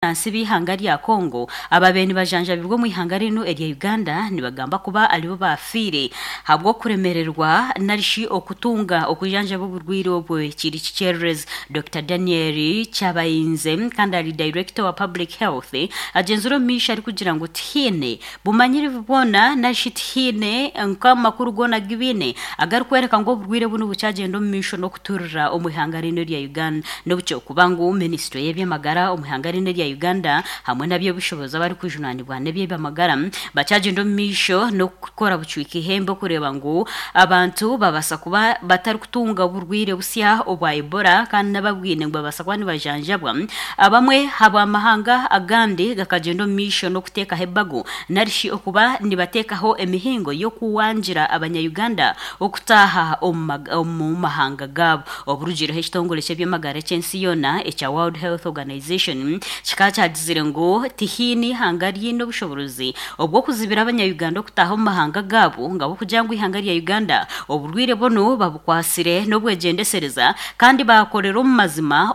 Abannansi b'eihanga rya Congo ababaire nibajanjabibwa omu ihanga rinu erya Uganda nibagamba kuba aribo baafiire ahabw'okuremererwa narishi okutunga okujanjaba oburwaire obwe kiri kikyererezi. Dokita Daniel Kyabayinze kandi ari Director wa Public Health agyenzire omu maisho arikugira ngu tihaine bumanyirivu bwona narishi tihaine nk'amakuru goona agu baine agarikworeka ngu oburwaire bunu bukyagyenda omu maisho n'okuturira omu ihanga rinu erya Uganda. N'obu ky'okuba ngu minisitule y'eby'amagara omu ihanga rinu erya Uganda hamwe n'aby'obushobozi abarikujunanibwa n'eby'amagara bakyagyenda omu maisho n'okukora bucwika eihembe okureeba ngu abantu babaasa kuba batarikutunga oburwaire busya obwa Ebola kandi n'ababwine ngu babaasa kuba nibajanjabwa. Abamwe ahabw'amahanga agandi gakagyenda omu maisho n'okuteekaho ebago narishi okuba nibateekaho emihingo y'okuwangira abanya Uganda okutaaha omu mahanga gaabo. Oburugiireho ekitongore ky'eby'amagara eky'ensi yoona ekya World Health Organization kikaba kyagizire ngu tihaine eihanga riine obushoboorozi obw'okuzibira abanya-Uganda okutaaha omu mahanga gaabo nga ahabw'okugira ngu eihanga rya Uganda oburwaire bunu babukwatsire n'obwegyendesereza kandi baakorera omu mazima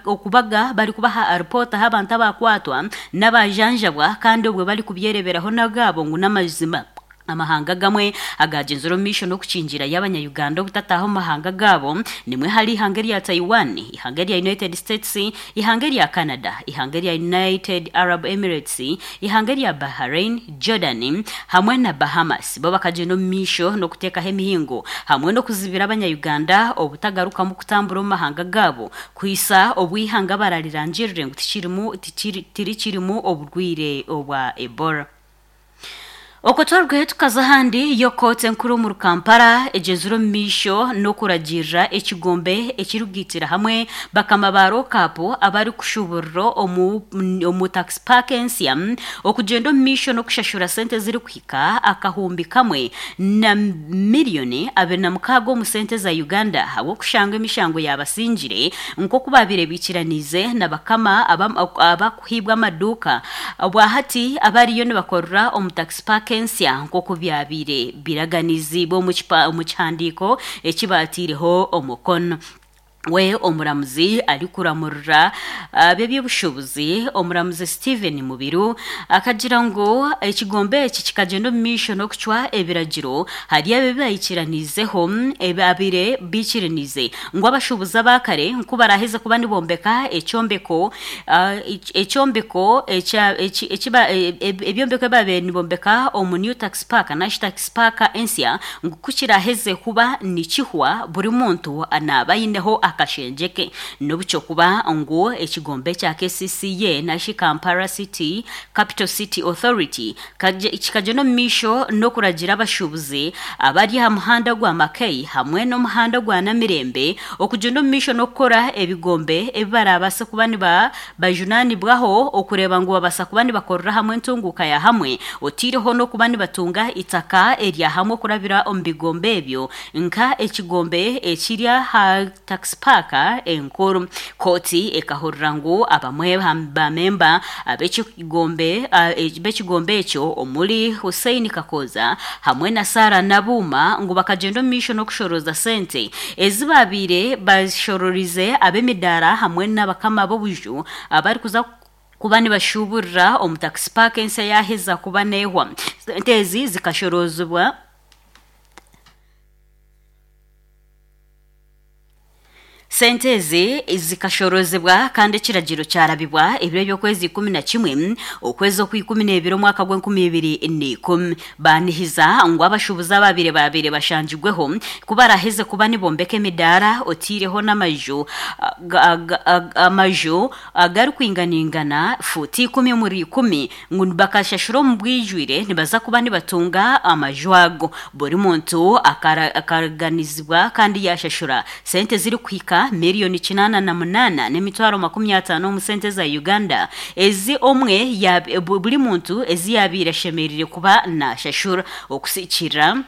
okubaga barikubaha aripoota ah'abantu abaakwatwa n'abaajanjabwa kandi obwo barikubyereeberaho n'agaabo ngu n'amazima. Amahanga agamwe agaagyenzire omu maisho n'okukingira Abanya-Uganda obutataaha omu mahanga gaabo nimwe hari eihanga erya Taiwan, eihanga erya United States, eihanga erya Canada, eihanga erya United Arab Emirates, eihanga erya Bahrain, Jordan hamwe na Bahamas. Bo bakagyenda omu maisho n'okuteekaho emihingo hamwe n'okuzibira Abanya-Uganda obutagarukamu kutambura omu mahanga gaabo kuhitsya obu eihanga bararirangirire ngu tirikirimu oburwaire obwa Ebola. Okwo twarugayo tukaza ahandi, yo kooti enkuru omuri Kampala egyenzire omu maisho n'okuragiirira ekigombe ekirikugaitira hamwe bakama ba lockup abarikushuburira omu tax park ensya okugyenda omu maisho n'okushashura sente ezirikuhika akahumbi kamwe na miriyoni 26 omu sente za Uganda ahabw'okushanga emishango yabasingire nk'oku baabaire baikiraniize na bakama abakuhaibwa amaduuka obwahati abariyo nibakorera omu tax park ensya nk'oku byabaire biraganiziibwe omu kihandiiko eki baataireho omukono. We omuramuzi arikuramurira ab'eby'obushuubuzi, omuramuzi Steven Mubiru akagira ngu ekigombe eki kikagyenda omu maisho n'okucwa ebiragiro hari ebi baikiraniizeho ebabaire baikiraniize ngu abashuubuzi aba kare ku baraaheze kuba nibombeka ekyombeko ekyombeko ebyombeko ebi baabaire nibombeka omu New Tax Park narishi Tax Park ensya ngu ku kiraaheze kuba nikihwa buri muntu naaba aineho akashengye ke. N'obu ky'okuba ngu ekigombe ekya KCCA narishi Kampala City Capital City Authority kikagyenda omu maisho n'okuragira abashuubuzi abari aha muhanda gwa Mackay hamwe n'omuhanda gwa Namirembe okugyenda omu maisho n'okukora ebigombe ebi baraabaase kuba nibajunaanibwaho okureeba ngu babaasa kuba nibakorera hamwe entunguuka ya hamwe otaireho n'okuba nibatunga eitaka erya hamwe okurabira omu bigombe ebyo nka ekigombe ekiri aha Tax Park enkuru. Kooti ekahurira ngu abamwe ba memba ab'ekigombe b'ekigombe ekyo omuri Hussein Kakooza hamwe na Sarah Nabuuma ngu bakagyenda omu maisho n'okushorooza sente ezi baabaire bashororize ab'emidaara hamwe n'abakama b'obuju abarikuza kuba nibashuuburira omu Tax Park ensya yaaheza kuba neehwa. Sente ezi zikashoroozibwa. Sente ezi zikashoroozibwa kandi ekiragiro kyarabibwa ebiro eby'okwezi 11 okwezi okw'ikumi n'ebiri omwaka gw'enkumi ibiri n'eikumi. Baanihiza ngu abashuubuzi abaabaire baabaire bashangirweho ku baraaheze kuba nibombeka emidaara otaireho n'amaju amaju agarikwinganaingana fuuti ikumi omuri ikumi ngu bakashashura omu bwijwire nibaza kuba nibatunga amaju ago. Buri muntu akaraganizibwa kandi yaashashura sente ezirikuhika miriyoni 808,050 omu sente za Uganda ezi omwe buri muntu ezi yaabaire ashemereire kuba naashashura. Okusikirira.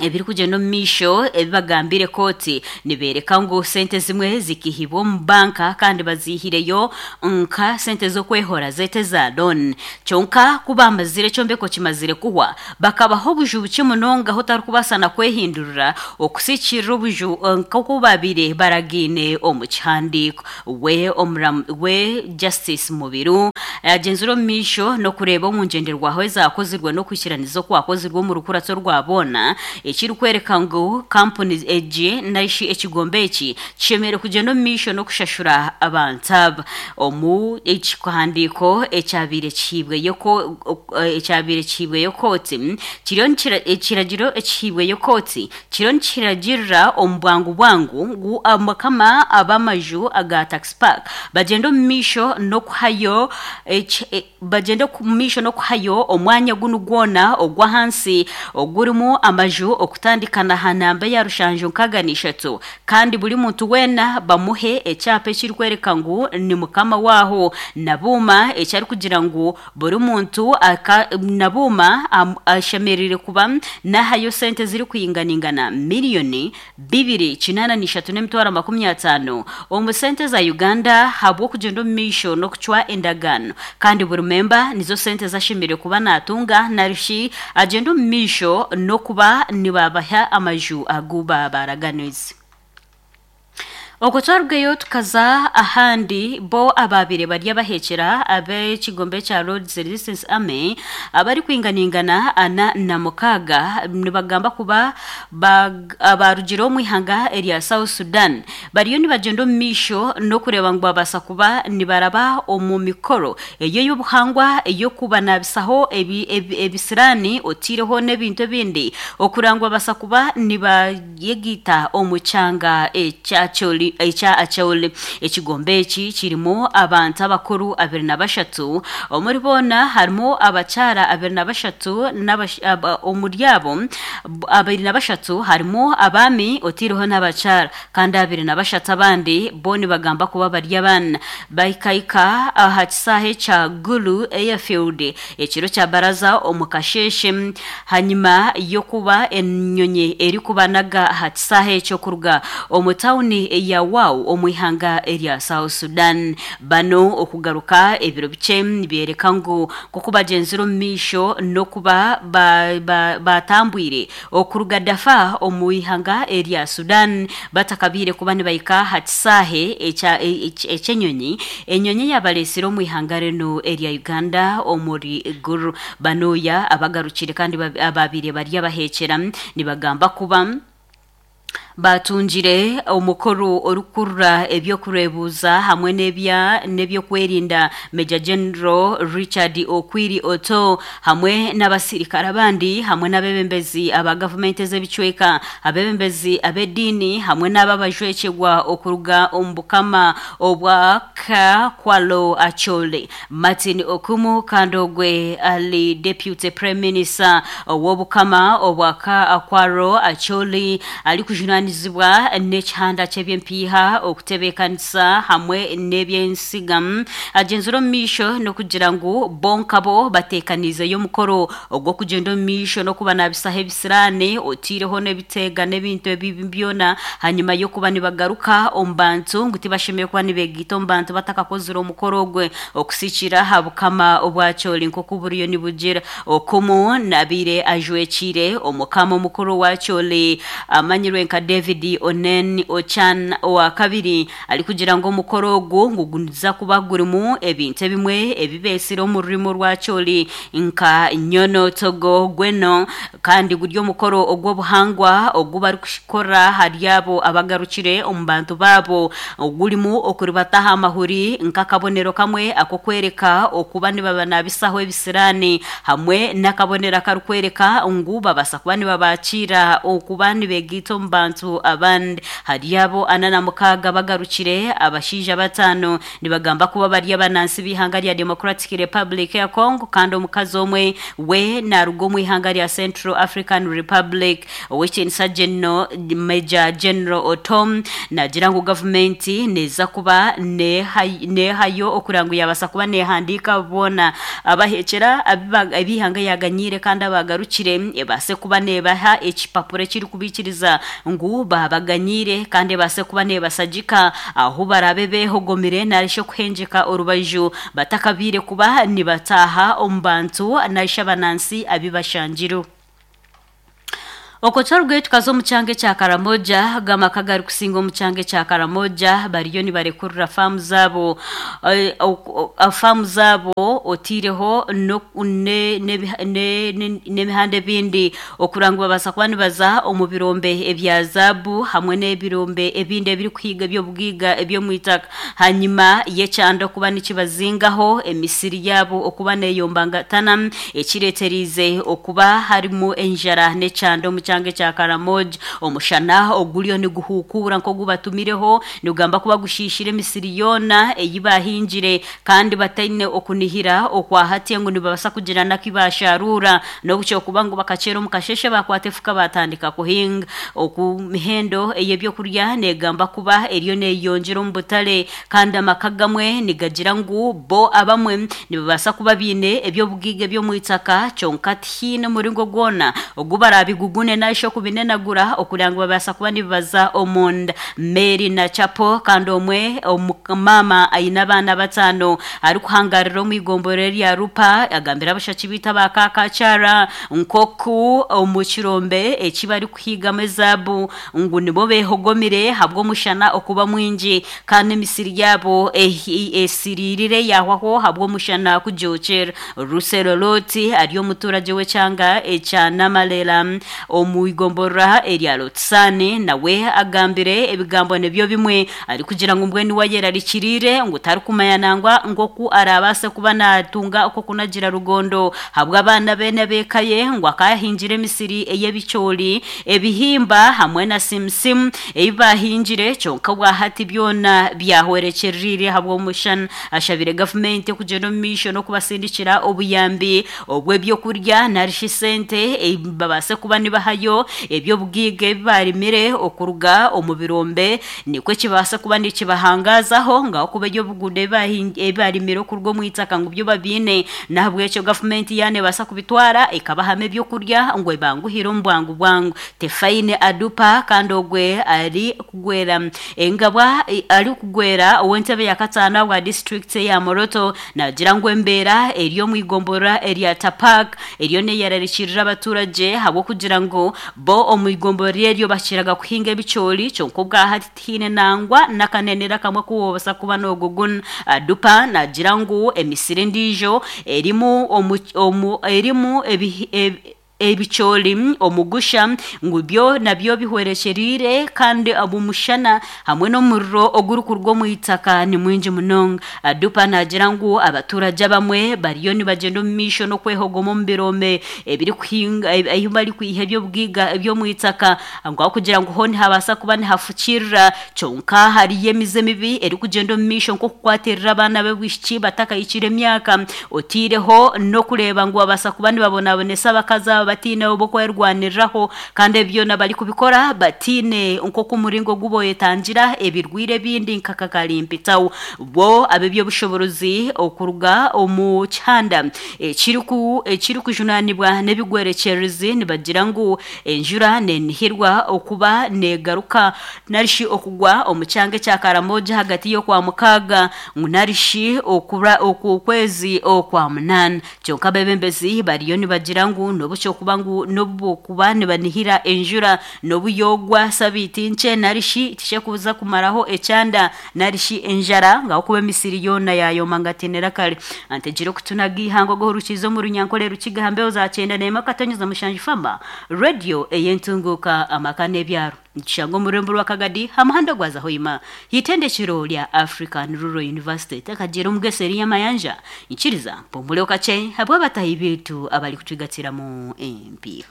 Ebirikugyenda omu maisho ebi bagambiire kooti nibeereka ngu sente zimwe zikihibwa omu banka kandi baziihireyo nka sente z'okwehora zeete eza loan. Kyonka ku baamazire ekyombeko kimazire kuhwa bakabaha obuju bukye munonga ahu otarikubaasa na kwehindurira okusiikirira obuju nk'oku baabaire baragaine omu kihandiiko. We omuramu we Justice Mubiru agyenzire omu maisho n'okureeba omu ngyenderwaho ezaakozirwe n'okwikiraniza okwakozirwe omu rukuratso rwa boona ekirikworeka ngu kampuni egi narishi ekigombe eki kishemereire kugyenda omu maisho n'okushashura abantu aba. Omu ekihandiiko ekyabaire kihaibweyo ekyabaire kihaibweyo kooti kiriyo ekiragiro ekihaibweyo kooti kiriyo nikiragirira omu bwangu bwangu ngu abakama ab'amaju aga Tax Park bagyende omu maisho n'okuhayo bagyende omu maisho n'okuhayo omwanya gunu gwona ogw'ahansi ogurimu amaju okutandika na ha namba eya rushanju nkaaga n'ishatu kandi buri muntu weena bamuhe ekyapa ekirikworeka ngu ni mukama waaho Nabuuma eki arikugira ngu buri muntu Nabuuma ashemereire kuba naahayo sente ezirikwinganingana miriyoni bibiri kinaana n'ishatu n'emitwaro 50 omu sente za Uganda ahabw'okugyenda omu maisho n'okucwa endagaano kandi buri memba nizo sente ezi ashemereire kuba naatunga narishi agyende omu maisho n'okuba nibabaha amaju agu baabaraganiise. Okwo twarugayo tukaza ahandi, bo abaabaire bari abaheekyera ab'ekigombe kya Lord's Resistance Army abarikwinganingana 46 nibagamba kuba abaarugire omu ihanga erya South Sudan bariyo nibagyenda omu maisho n'okureeba ngu babaasa kuba nibaraba omu mikoro eyo ey'obuhangwa ey'okubanabisaho ebisiraani otaireho n'ebintu ebindi okureeba ngu babaasa kuba nibayegaita omu kyanga ekya Acholi. Ekigombe eki kirimu abantu abakuru 23, omuri boona harimu abakyara 23 omuri abo 23 harimu abaami otaireho n'abakyara kandi 23 abandi bo nibagamba kuba bari abaana. Bahikaika aha kisaahe kya Gulu Airfield ekiro kya baraza omu kasheeshe hanyima y'okuba enyonyi erikubanaga aha kisaahe ekyo kuruga omu tauni ya Wau omu ihanga erya South Sudan. Banu okugaruka ebiro bikye nibyereka ngu nk'oku bagyenzire omu maisho n'okuba baatambwire okuruga Darfur omu ihanga erya Sudan batakabaire kuba nibahika aha kisaahe eky'enyonyi, enyonyi eyabareetsire omu ihanga rinu erya Uganda omuri Gulu. Banuya abagarukire kandi abaabaire bari abaheekyera nibagamba kuba Baatungire omukuru orikukurira eby'okureebuuza hamwe n'eby'okwerinda Major General Richard Okwiri Otoo hamwe n'abasirikare abandi hamwe n'abeebembezi aba gavumenti ez'ebicweka, abeebembezi ab'ediini hamwe n'abo abajwekyerwa okuruga omu bukama obwa Kakwalo Acholi. Martin Okumu kandi ogwe ari Deputy Prime Minister ow'Obukama obwa Kakwaro Acholi arikujunanizibwa n'ekihanda ky'eby'empiiha, okutebeekanisa hamwe n'eby'ensiga agyenzire omu maisho n'okugira ngu bo nkabo bateekaniizeyo omukoro ogw'okugyenda omu maisho n'okubanabisaho ebisiraani oteireho n'ebiteega n'ebintu ebibi byona hanyima y'okuba nibagaruka omu bantu ngu tibashemereire kuba nibeegaita omu bantu batakakozire omukoro ogwe okusikira aha bukama obwa Acholi nk'oku buriyo nibugira. Okumu nabaire ajwekiire omukama omukuru wa Acholi amanyirwe nka David Onen Ochan owakabiri arikugira ngu omukoro ogu ngu guza kuba gurimu ebintu ebimwe ebi beetsire omu rurimi orwa Acholi nka Nyono Togo Gweno kandi guri omukoro ogw'obuhangwa ogu barikukora ahari abo abagarukire omu bantu baabo ogurimu okuribata aha mahuri nk'akabonero kamwe ak'okworeka okuba nibabanabisaho ebisiraani hamwe n'akabonero akarikworeka ngu babaasa kuba nibabakiira okuba nibegaita omu bantu. abantu abandi. Hari abo 46 bagarukire, abashaija 5 nibagamba kuba bari abanansi b'ihanga rya Democratic Republic ya Congo, kandi omukazi omwe we naruga omu ihanga rya Central African Republic. Ow'ekinisa General Major General Otom nagira ngu gavumenti neza kuba nehayo okugira ngu yabasa kuba nehandiika boona abahekyera ab'ihanga yaganyire kandi abagarukire, ebase kuba nebaha ekipapuro ekirikubikiriza ngu babaganyire, kandi ebase kuba nebasagika ahu barabe behogomire narishi okuhengeka orubaju batakabiire kuba nibataaha omu bantu narishi abanansi abibashangire. Okwo tukaza omu kyanga ekya Karamoja. Gamaka garikusinga omu kyanga ekya Karamoja bariyo nibarekurira faamu zaabo, faamu zaabo otiireho n'emihanda ebindi okugira ngu babaasa kuba nibaza omu birombe ebya zaabu hamwe n'ebirombe ebindi ebirikuhiga eby'obugaiga eby'omu itaka, hanyuma y'ekyanda okuba nikibazingaho emisiri yaabo okuba neyombangatana, ekireeteriize okuba harimu enjara n'ekyanda omu kyanga ekya Karamoja. Omushana oguriyo niguhukura nk'ogubatumireho nigugamba kuba gushishire emisiri yoona ei bahingire, kandi bataine okunihira okwahati ngu nibabaasa kugira naki basharura, n'obukyokuba ngu bakakyera omu kasheshe bakwata efuka batandika kuhinga. Oku mihendo ey'ebyokurya negamba kuba eriyo neyeyongyera omu butare, kandi amaka gamwe nigagira ngu bo abamwe nibabaasa kuba biine eby'obugaiga eby'omu itaka, kyonka tihaine omuringo gwona ogu barabigugune narishi okubinenagura okugira ngu babaasa kuba nibibaza omunda. Mary Nachapo, kandi omwe omumama aine abaana 5 arikuhangarira omu igombora erya Rupa, agambira abashaki bitu aba Kakakyara nk'oku omu kirombe eki barikuhigamu ezaabu ngu nibo behogomire habw'omushana okuba mwingi, kandi emisiri yaabo esiririre yahwaho habw'omushana kugyokyera. Rusero Loti ari omuturage w'ekyanga ekya Namalera omu igomborora erya Lotsani, nawe agambire ebigambo nibyo bimwe, arikugira ngu mbwenu wayerarikirire ngu tarikumanya nangwa nk'oku arabaase kuba natunga okwo kunagira rugondo habw'abaana be n'ab'eka ye, ngu akahingire emisiri ey'ebicoori, ebihimba hamwe na simusimu ebi bahingire, kyonka bwahati byona byahwerekyerire habw'omushana. Ashabire gavumenti okugyenda omu maisho n'okubasindikira obuyambi obw'ebyokurya narishi sente, babaase kuba nibahayo eby'obugaiga ebi barimire okuruga omu birombe, nikwo kibaasa kuba nikibahangazaho ngaho kuba eby'obuguda ebi barimire okuruga omu itaka ngu byo babiine. Nahabwekyo gavumenti yaana ebaasa kubitwara ekabahamu ebyokurya ngu ebanguhire omu bwangu bwangu. Tefaine Adupa, kandi ogwe ari kugwera engabwa, ari kugwera ow'entebe ya kataano bwa district ya Moroto, nagira ngu embeera eri omu igombora erya Tapak eriyo neyerarikirira abaturage, habw'okugira ngu bo omu igombora eryo bakiraga kuhinga ebicoori, kyonka obwahati tihaine nangwa n'akanenera kamwe kuwobasa kuba n'oguguna. Adupa nagira ngu emisiri endiijo erimu omu, omu, erimu ebicoori omugusha ngu byo nabyo bihwerekyerire, kandi omushana hamwe n'omuriro ogurikuruga omu itaka ni mwingi munonga. Adupa nagira ngu abaturage abamwe bariyo nibagyenda omu maisho n'okwehogoma omu birombe ebirikuhinga ahu barikwiha eby'obugaiga eby'omu itaka, ngu kugira ngu ho nihabaasa kuba nihafukirira, kyonka hariyo emize mibi erikugyenda omu maisho nk'okukwatirira abaana b'obwishiki batakahikire emyaka, otiireho n'okureeba ngu babaasa kuba nibabonabonesa abakazi aba batiine obw'okwerwaniriraho, kandi ebyo byona barikubikora batiine nk'oku omuringo ogu boyetangira ebirwire ebindi nka kakarimpitaho. Bo ab'eby'obushoborozi okuruga omu kihanda ekirikujunanibwa n'ebigwerekyerezi nibagira ngu enjura nenihirwa okuba negaruka narishi okugwa omu kyanga ekya Karamoja hagati y'okwa 6 ngu narishi okura okwezi okwa 8, kyonka abebembezi bariyo nibagira ngu n'obukyokuba ngu n'obukuba nibanihira enjura n'obuyogwa sabiiti nkye narishi tishekuza kumaraho ekyanda narishi enjara, ngaho kuba emisiri yoona yayoma ngatinira kare. Antegire okutunaga ihanga ogohurukiza omu Runyankore Rukiga hambeho za 91.7 Fama Radio ey'entunguka amaka n'ebyaro, nikishanga omu rurembo rwa Kagadi ha muhanda gwa Zahoima hitendekero rya African Rural University. Takagira omugeseri y'amayanja nkiriza mpumure kakye habw'abatahi bitu abari kutwigatiramu empiiha.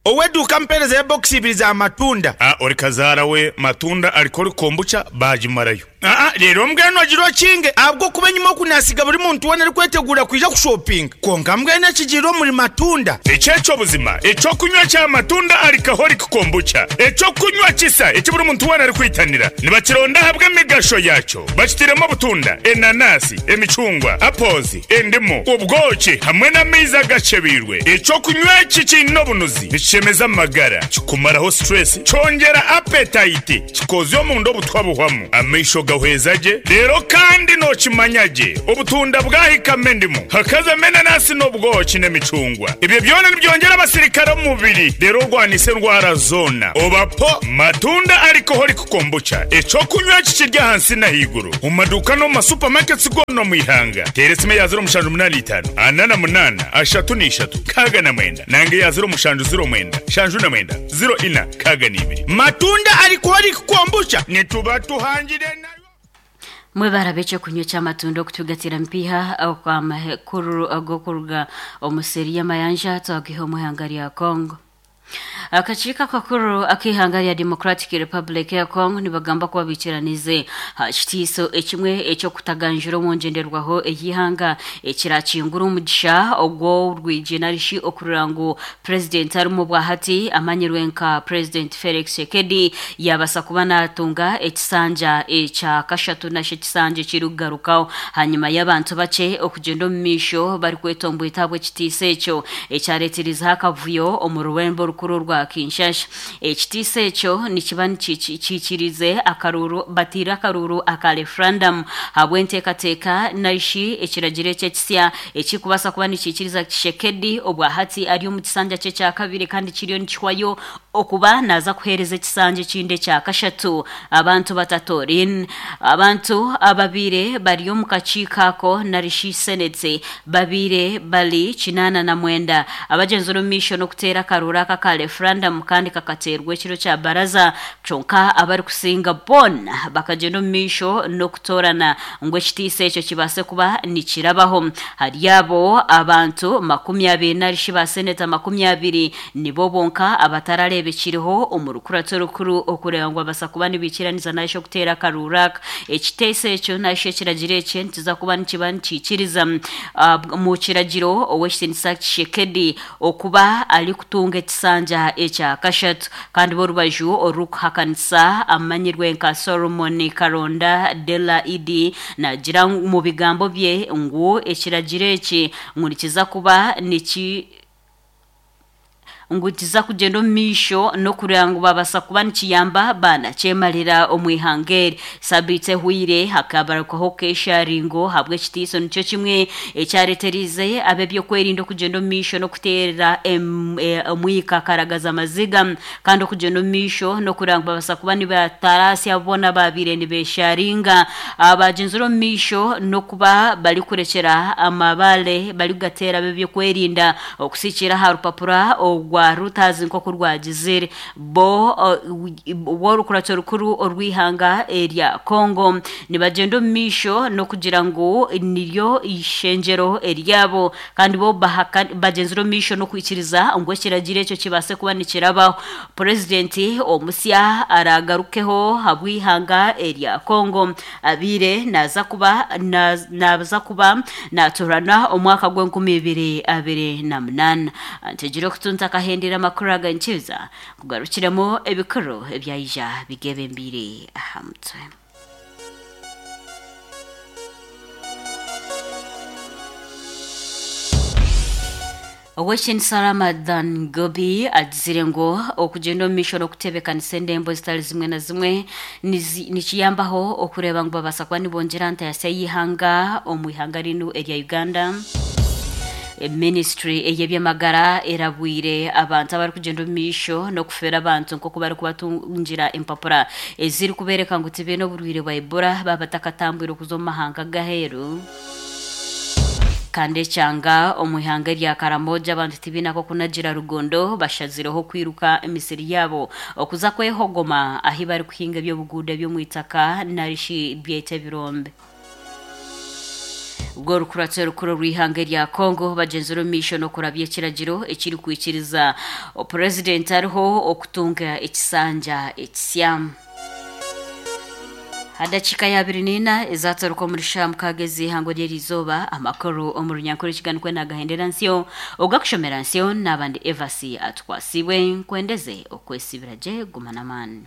Ow'eduuka ampeerezeyo bokisi ibiri za matunda. A Ori kazaara we matunda alcoholic kombucha baagimarayo. Aa Reero mbwenu ogire okinge ahabw'okuba enyima oku naasiga buri muntu weena arikweteguura kwija kushopinga. Kwonka mbwenu ekigiire omuri matunda. Eki eky'obuzima, eky'okunywa kya matunda alcoholic kombucha, eky'okunywa kisa eki buri muntu weena arikwitanira. Nibakironda ahabw'emigasho yaakyo. Bakitairemu obutunda, enanasi, emicungwa, apples, endimu, obwoki hamwe n'amaizi agakyebeirwe. Eky'okunywa eki kiine obunuzi, nikishemeza amagara, kikumaraho stress, kyongyera appetite, kikoozya omunda obutwa buhwamu, amaisho gahweza gye, reero kandi nookimanya gye obutunda bwahikamu endimu, hakazamu enanasi n'obwoki n'emicungwa. Ebyo byona nibyongyera abasirikare omu mubiri reero orwanise endwara zoona. Oba po Matunda Alcoholic Kombucha, eky'okunywa eki kiri ahansi n'ahaiguru omu maduuka n'omu ma supermarkets goona omu ihanga. Teera esimu eya 0785 48 33 69 nanga eya 0709 79 04 62. Matunda Alcoholic Kombucha nituba tuhangire nayo. Mwebare ab'ekyokunywa eky'amatunda okutugatira mpiiha okw'amakuru ag'okuruga omu seeri y'amayanja twagaiha omu ihanga rya Congo. Akakiiko akakuru ak'eihanga rya Democratic Republic ya Congo nibagamba kuba baikiranize aha kitiiso ekimwe eky'okutaganjura omu ngyenderwaho ey'eihanga ekirakingura omugisha ogw'orwigi narishi okurora ngu Purezidenti arimu obwahati amanyirwe nka Purezidenti Felix Tshisekedi yaabasa kuba naatunga ekisanja ekya kashatu narishi ekisanja ekirikugarukaho ahanyima y'abantu bakye okugyenda omu maisho barikwetomboita ahabw'ekitiiso ekyo ekyareetirizeho akavuyo omu rurembo orukuru orwa Kinshasha. Ekitiiso ekyo nikiba kiikiriize akaruuru bataire akaruuru aka referandamu ahabw'enteekateeka narishi ekiragiro eki ekisya ekirikubaasa kuba nikiikiriza Tshisekedi obwahati ari omu kisanja kye ekya kabiri kandi kiriyo nikihwayo okuba naaza kuheereza ekisanja ekindi ekya kashatu abantu batatooriine. Abantu ababaire bari omu kakiiko ako narishi Senate babaire bari 89 abagyenzire omu maisho n'okuteera akaruuru aka aka referandamu kandi kakateerwa ekiro kya baraza kyonka abarikusinga boona bakagyenda omu maisho n'okutoorana ngu ekitiiso ekyo kibaase kuba nikirabaho. Hari abo abantu 20 narishi ba seneta 20 nibo bonka abatarareebekiriho omu rukurato orukuru okureeba ngu babaasa kuba nibaikiraniza narishi okuteera akaruuru aka. Ekiteeso ekyo narishi ekiragiro eki nikiza kuba nikiba nikiikiriza omu kiragiro Ow'ekitiinisa Tshisekedi okuba arikutunga ekisanja ekya kashatu kandi b'orubaju orurikuhakanisa amanyirwe nka Solomon Karonda Della Idi naagira omu bigambo bye ngu ekiragiro eki ngu nikiza kuba niki ngu kiza kugyenda omu maisho n'okureeba ngu babaasa kuba nikiyamba baanakyemarira omu ihanga eri. Sabiiti ehweire hakabarukaho keesharingo ahabw'ekitiiso nikyo kimwe ekyareetereize ab'ebyokwerinda okugyenda omu maisho n'okuteera omwika karagaza maziga kandi okugyenda omu maisho n'okureeba ngu babaasa kuba nibataraasya boona abaabaire nibeesharinga abagyenzire omu maisho n'okuba barikurekyera amabaare barikugateera ab'ebyokwerinda Okusikiira aha rupapura orwa Reuters nk'oku rwagizire, bo b'orukurato rukuru orw'eihanga erya Congo nibagyenda omu maisho n'okugira ngu niryo eishengyero eryabo kandi bo bagyenzire omu maisho n'okwikiriza ngu ekiragiro ekyo kibaase kuba nikirabaho. Purezidenti omusya araagarukeho ahabw'eihanga erya Congo Abaire naaza kuba naaza kuba naatoorana omwaka gw'enkumi ibiri abiri na munaana. Ntegire okutu ntakahendire amakuru aga nikiza kugarukiremu ebikuru ebyaija bigebembeire aha mutwe. Ow'ekitinisa Ramadhan Ggoobi agizire ngu okugyenda omu maisho n'okuteebekanisa endembo zitari zimwe na zimwe nikiyambaho okureeba ngu babaasa kuba nibongyera ntayasya y'eihanga omu ihanga rinu erya Uganda. Minisiture ey'eby'amagara erabwire abantu abarikugyenda omu maisho n'okufeera abantu nk'oku barikubatungira empapura ezirikubeereka ngu tibaine oburwaire bwa Ebola baaba batakatambwire kuza omu mahanga g'aheeru. Kandi ekyanga omu ihanga erya Karamoja abantu tibaine ak'okunagira rugondo bashazireho kwiruka emisiri yaabo okuza kwehogoma ahi barikuhinga eby'obuguuda eby'omu itaka narishi byete ebirombe. Ubwo orukuratso rukuru rw'ihanga rya Congo bagenzire omu maisho n'okurabya ekiragiro ekirikwikiriza purezidenti ariho okutunga ekisanja ekisya. Ha dakiika ya abiri n'ina ezataruka omuri shaaha mukaaga ez'eihangwe ry'eriizooba, amakuru omu runyankore ekiganikwe nagahendera nsyo, ogakushomera nsyo n'abandi Evasi Atukwasiibwe. Nkwendeze okwesiibira gye, guma n'amaani.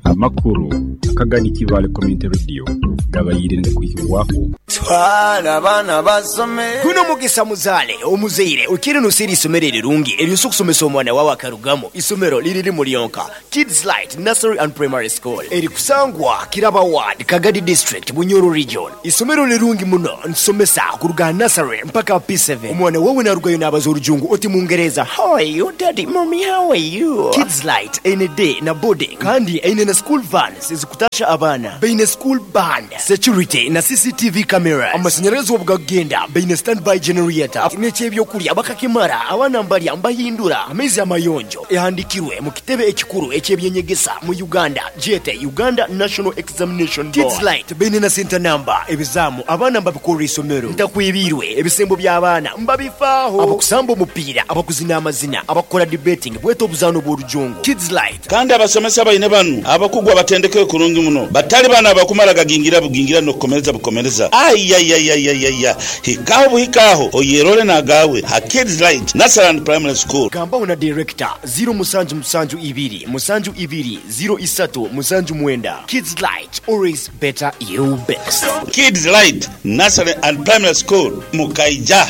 Amakuru akagani Kibaale Community Radio gabaire nigakwihibwaho. Twala abaana basome. Guno mugisa muzaale omuzaire okiire noseera eisomero erirungi eryosa okusomesa omwana wawe akarugamu. Isomero liri rimu lyonka, Kids Light Nursery and Primary School erikusangwa Kiraba Ward, Kagadi District, Bunyoro Region. Isomero lirungi muno, nitusomesa kuruga aha nursery mpaka aha P7. Omwana wawe narugayo nabaza orujungu oti mungereza, How are you daddy, mummy how are you? Kids Light eine day na boarding kandi eine na school vans ezikutasha abaana. Baine school band, security na CCTV cameras. Amashanyarazi obu gakugenda baine standby generator n'eky'ebyokurya bakakimara abaana mbarya mbahindura amaizi amayonjo. Ehandikirwe mu kitebe ekikuru eky'eby'enyegesa mu Uganda gyete Uganda National Examination Board. Kids Light baine na senta namba, ebizaamu abaana mbabikorera eisomero, ntakwebiirwe, ebisembo by'abaana mbabifaaho, abakusamba omupiira, abakuzina amazina, abakukora debating bwete obuzaano bw'orujungu. Kids Light. Kandi abasomesa baine banu abakugu abatendekere kurungi muno, batali banu abakumara gagingira bugingira n'okukomereza bukomereza. Aiaiaiaiaia! Hikaho buhika aho oyerore n'agaawe ha Kids Light Nursery and Primary School. Gambaho na Director, ziro musanju musanju ibiri musanju ibiri ziro isatu musanju mwenda. Kids Light, always better you best. Kids Light Nursery and Primary School, Mukaija.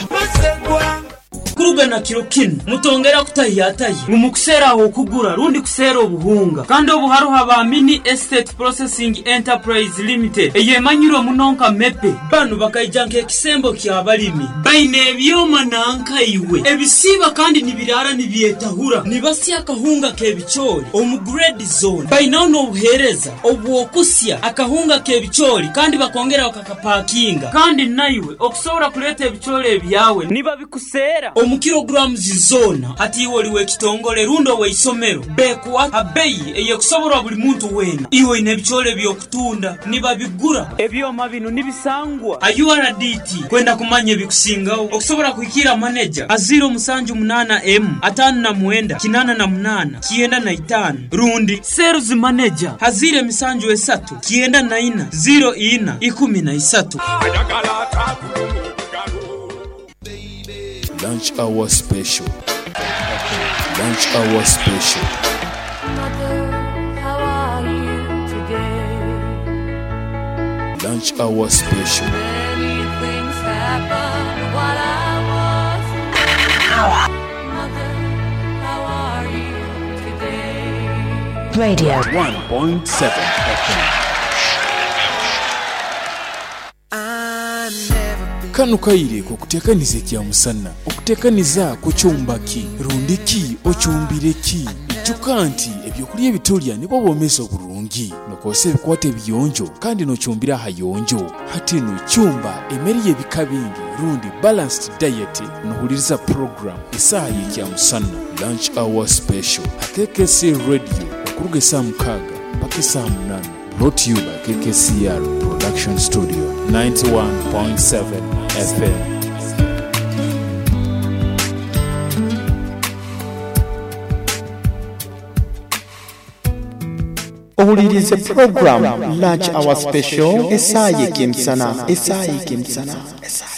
Kuruga na kiro kinu, mutongera kutahiyatahya ngu mukuseera ah'okugura rundi kuseera obuhunga. Kandi obu haroho aba Mini Estate Processing Enterprise Limited eyemanyirwe muno nka MEPE. Banu bakaija nk'ekisembo ky'abalimi. Baine ebyoma nanka iwe ebisiiba kandi nibiraara nibyetahura. Nibasya akahunga k'ebicoori omu grade zoona. Bainaho n'obuheereza obw'okusya akahunga k'ebicoori kandi bakongera bakakapakinga. Kandi naiwe okusobora kuleeta ebicoori ebyawe nibabikuseera omu kilograms zoona. Hati iwe oli w'ekitongole rundi ow'eisomero, bekuha ha beyi ey'ekusoborwa buli muntu weena. Iwe oine ebicoori eby'okutunda, nibabigura. Ebyoma binu nibisangwa ha URDT. Kwenda kumanya ebikusingaho, okusobora kuhikiira maneja ha ziiro musanju munaana emu, ataano na mwenda, kinaana na munaana, 95 rundi Sales Manager ha ziiro emisanju esatu, 94, ziiro ina, 13. Lunch hour special Lunch hour special. Lunch hour special. Radio. 1.7 FM. Kanu kaire k'okuteekaniza ekyamusana. Okuteekaniza kukyumba ki? Rundi ki okyumbire ki? Ijuka nti ebyokulya ebi tulya nibwo bwomeezi oburungi. Nokozesa ebikwato ebiyonjo kandi nokyumbira ahayonjo. Hati nu kyumba emere y'ebika bingi rundi balanced diet nohuliriza program Esaaha y'Ekyamusana, Lunch Hour Special, ha KKC Radio okuruga esaaha mukaaga mpaka esaaha munaana. Brought to you by KKCR Production Studio, 91.7 FM. Owuliriize pulogulaamu Lunch Hour Special, Esaaha y'Eky'emisana, Esaaha y'Eky'emisana, Esaaha.